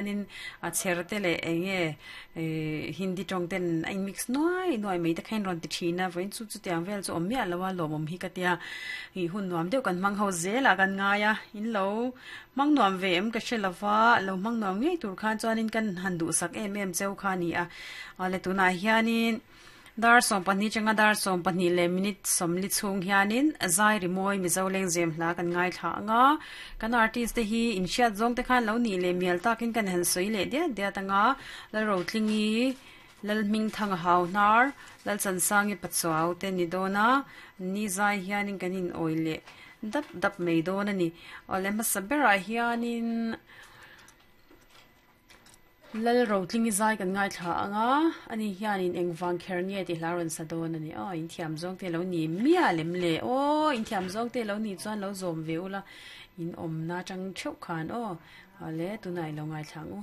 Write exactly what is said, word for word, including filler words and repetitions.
In a chher te leh eng nge eh hindi tawng ten a in mix nuai nuai mai te kha in rawn ti thin a vawiin chu chutiang vel chu awm miah lo a lawmawm hi ka tia ih hun nuam deuh kan hmang ho zel ah kan ngai a in lo hmang nuam ve em ka hre lova lo hmang nuam ngei tur khan chuanin kan han duhsak em em cheu kha a ni a awle tunah hianin Dar sawm pahnih changa dar sawm pahnih leh minute sawmli chhung hianin zai rimawi Mizo lengzem hla kan ngaithla ang a, kan artist te hi inhriat zawng te khan lo nih leh mial takin kan han sawi leh diat diat ang a, Lalrotlingi, Lalhmingthanga Hauhnar, Lalchansangi Pachuau te ni dawn a, ni zai hianin kan inawi leh dap dap mai dawn a ni. Awle hmasa berah hianin. Lal Rotlingi zai kan ngaithla ang a, ani hianin engvang kher nge tih hla rawn sa dawn a ni. Aw, inthiam zawng te lo ni miah lem le. Aw, inthiam zawng te lo ni chuan lo zawm ve ula, in awmna atang theuh khan aw. Awle, tunah i lo ngaithla ang u.